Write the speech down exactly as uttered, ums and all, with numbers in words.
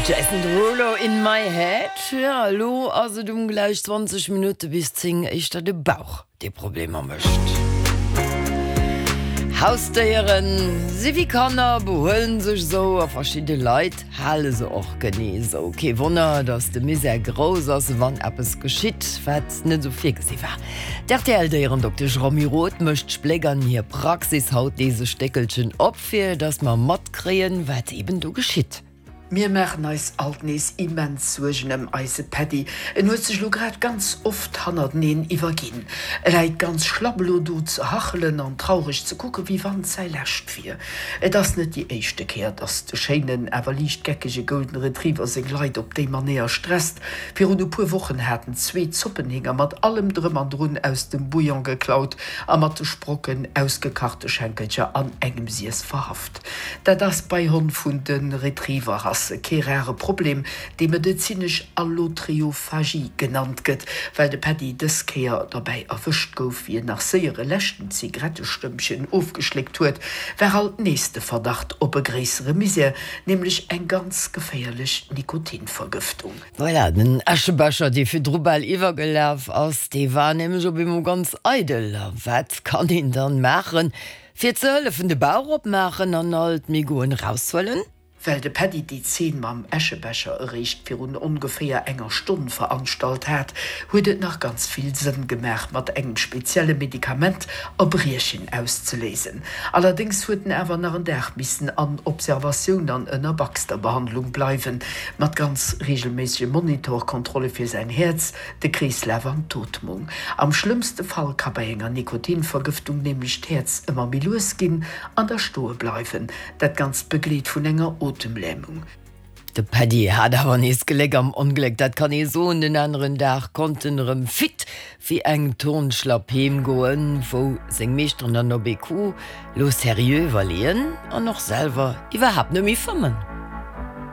Jason Derulo In My Head. Jo, elo ass et um gläich zwanzeg Minutte bis zéng, éischter de Bauch dee Problemer mécht. Hausdéieren si wéi Kanner, behuelen sech esou a verschidde Leit hale se och genee esou. Kee Wonner, datt de Misär grouss ass, wann eppes geschitt, wat net esou virgesi war. D'R T L-Déierendoktesch Romy Roth mécht Spléck an hir Praxis haut nees e Stéckelchen op, fir datt mer matkréien, wat eben do geschitt. Mir maachen eis alt nees immens Suergen ëm eise Päddi. En huet sech lo grad ganz oft hannerteneen iwwerginn. E läit ganz schlapp elo do ze hachelen an traureg ze kucken, wéi wann et säi lescht wier. Et ass net déi éischte Kéier, dass de schéinen, awer liicht geckege Golden Retriever seng Leit op déi Manéier stresst. Virun e puer Wochen hat en zwee Zoppenhinger mat allem Drëm an Drun aus dem Bouillon geklaut a mat de Sprocken ausgekachte Schenkelcher an engem Siess verhaft. Dat ass bei Honn vun de Retriever-Rasse kee rare Problem, dee medezinesch Allotriophagie genannt gëtt. Well de Paddy dës Kéier derbäi erwëscht gouf, wéi en nach séier e leschten Zigarettestëmpchen ofgeschléckt huet, war alt nees de Verdacht op e gréissere Misär, nämlech eng ganz geféierlech Nikotinvergëftung. Voilà, den Äschebecher, dee virdru bal iwwergelaf ass, dee war nämlech op eemol ganz eidel. A wat kann een dann maachen, fir ze hëllefen? De Bauch opmaachen an all d'Megoen eraushuelen? Well de Päddi déi Zeen mam Äschebecher eréischt virun ongeféier enger Stonn veranstalt hat, huet et nach ganz vill Sënn gemaach, mat engem spezielle Medikament Erbriechen auszeléisen. Allerdéngs huet en awer nach en Dag missen an Observatioun an ënner Baxter-Behandlung bleiwen, mat ganz reegelméissege Monitor-Kontrolle fir säin Häerz, de Kreeslaf an d'Ootmung. Am schlëmmste Fall ka bei enger Nikotinvergëftung nämlech d'Häerz ëmmer méi lues ginn an da stoe bleiwen, dat Ganzt begleet vun enger Otemlämung. De Paddy hat awer nees Gléck am Ongléck, dat kann ee soen. Den aneren Dag konnt en erëm fit wéi eng Turnschlapp heem goen, wou seng Meeschteren dann op ee Coup lo seriö iwwerleeën an och selwer iwwerhaapt net méi fëmmen.